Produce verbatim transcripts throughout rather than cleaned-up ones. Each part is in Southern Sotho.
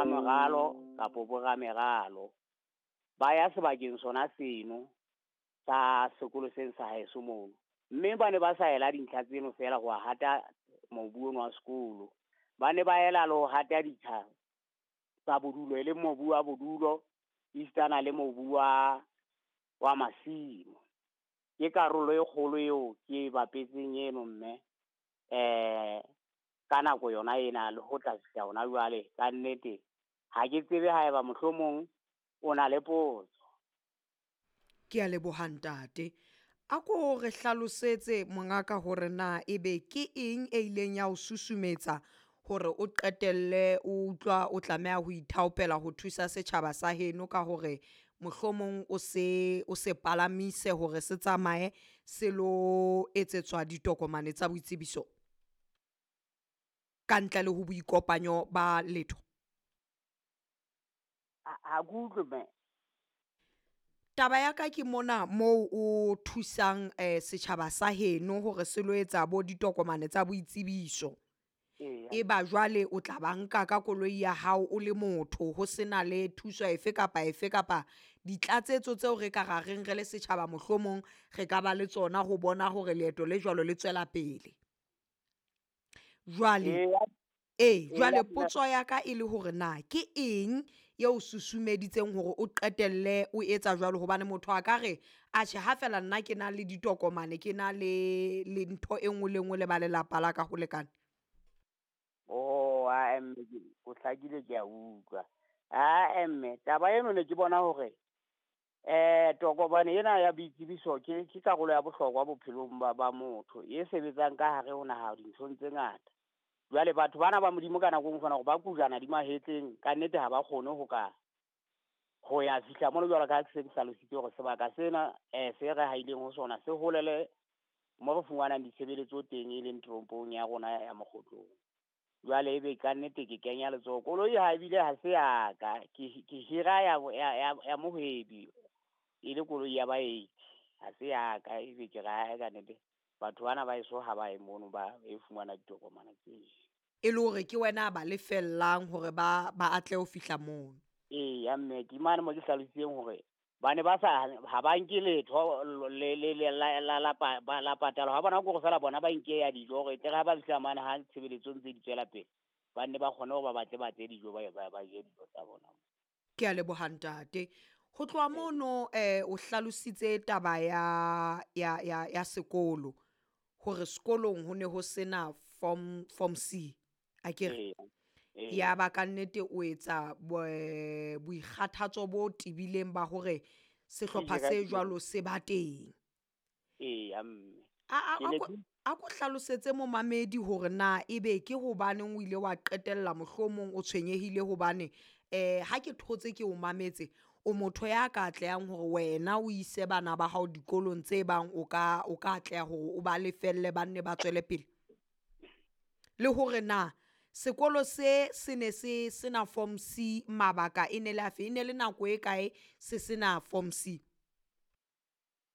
Boramoralo kapa borameralo ba ya sebakeng sona seno sa sekolo seno sa haeso mono. Mme ba ne ba sa ela dintlha tseno feela ho hata mobu ono wa sekolo. Ba ne ba ela le ho hata ditsha tsa bodulo, e leng mobu wa bodulo esitana le mobu wa wa masimo. Ke karolo e kgolo eo ke e bapetseng eno mme eh ka nako yona ena le ho tla fihla hona jwale. Ka nnete ha ke tsebe haeba mohlomong o na le potso. Ke a leboha ntate. A ko re hlalosetse mongaka hore na ebe ke eng e ileng ya o susumetsa hore o qetelle o utlwa o tlameha ho ithaopela ho thusa setjhaba sa heno ka hore mohlomong o se o se palamise hore se tsamaye se lo etsetswa ditokomane tsa boitsebiso ka ntle le ho boikopanyo ba letho. Ha ha ke utlwe mme. Taba ya ka ke mona moo o thusang eh setjhaba sa heno hore se lo etsa bo ditokomane tsa boitsebiso. Eya. E ba jwale o tla ba nka ka koloi ya hao o le motho ho sena le thuso efe kapa efe kapa ditlatsetso tseo re ka ra reng re le setjhaba mohlomong re ka ba le tsona ho bona hore leeto le jwalo le tswela pele. Jwale Eya. ee, jwale Eya, potso ya ka e le hore na ke eng eo susumeditseng hore o qetelle o etsa jwalo hobane motho a ka re atjhe ha fela nna ke na le ditokomane ke na le le ntho e nngwe le nngwe le ba lelapa la ka ho lekane. Oh, ae mme o hlakile ke a utlwa. Ae mme taba eno ne ke bona hore eh tokomane ena ya boitsebiso ke ke karolo ya bohlokwa bophelong ba ba motho e sebetsang ka hare ho naha dinthong tse ngata. Jwale batho bana ba Modimo ka nako e nngwe o fumana hore ba kujana di mahetleng, ka nnete ha ba kgone ho ka ho ya fihla mono jwalo ka ha ke se ke hlalositse hore sebaka sena eh se re haileng ho sona se holele mo re fumanang ditshebeletso teng e leng toropong ya rona ya Mokgotlong. Jwale ebe ka nnete ke kenya letsoho. Koloi ha ebile ha se ya ka, ke ke hira ya ya ya ya mohwebi e le koloi ya baeti. Ha se ya ka ebe ke re ae ka nnete batho bana ba heso ha ba ye mono ba e fumana ditokomane tseo. E le hore ke wena a ba lefellang hore ba ba atle ho fihla mono. Eya mme ke mane mo ke hlalositseng hore ba ne ba sa ha ba nke letho le le le la la la ba la patala ha bona ke hore feela bona ba nke ya dijo hore tle ha ba fihla mane ha tshebeletso ntse di tswela pele ba nne ba kgone hore ba batle batle dijo ba ba ba je dijo tsa bona. Ke a leboha ntate. Ho tloha mono eh o hlalositse taba ya ya ya ya sekolo hore sekolong ho ne ho sena form form C akere. Eya. Eya. Ya ba ka nnete o etsa bo- boikgathatso bo tebileng ba hore sehlopha se jwalo se ba teng. Eya mme. A a Ke a ne ko ke a ko hlalosetse momamedi hore na ebe ke hobaneng o ile wa qetella mohlomong o tshwenyehile hobane eh ha ke thotse ke o mametse o motho ya ka atlehang hore wena o ise bana ba hao dikolong tse bang o ka o ka atleha hore o ba lefelle ba nne ba tswele pele. Le hore na sekolo se se ne se sena form C mabaka e ne le afe e ne le nako e kae se sena form C.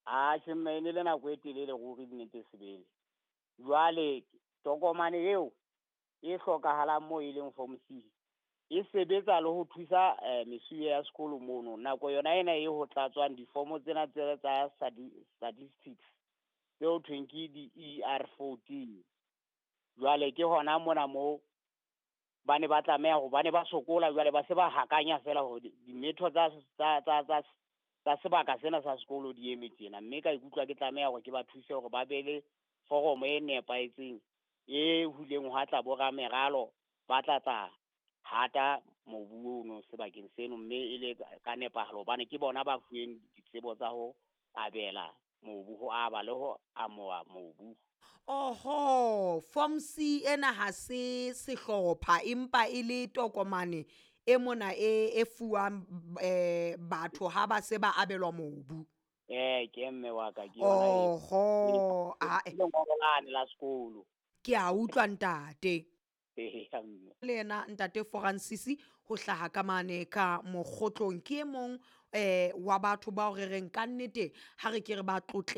Atjhe mme e ne le nako e telele ruri nnete sebele. Jwale tokomane eo e hlokahalang moo e leng form C e sebetsa le ho thusa eh mesuwe ya sekolo mono. Nako yona ena e ho tlatswang difomo tsena tse tsa statistics tseo thweng ke di-E R fourteen. Jwale ke hona mona moo ba ne ba tlameha hore ba ne ba sokola jwale ba se ba hakanya feela hore dimetho tsa tsa tsa tsa tsa sebaka sena sa sekolo di eme tjena. Mme ka ikutlwa ke tlameha hore ke ba thuse hore ba be le foromo e nepahetseng e huleng hwa tla bo rameralo ba tla tla hata mobu ono sebakeng seno mme e le ka nepahalo hobane ke bona ba fuweng ditsebo tsa ho abela mobu, ho aba le ho amoha mobu. Oho, form C ena ha se sehlopha empa e le tokomane e mona e e fuwang eh batho ha ba se ba abelwa mobu. Eh ke mme wa ka ke yona e. Oho, Ke ae lengolo lane la sekolo. Ke a utlwa ntate. Eya mme. Le yena ntate Francis ho hlaha ka mane ka Mokgotlong ke e mong eh wa batho bao re reng ka nnete ha re ke re ba tlotle.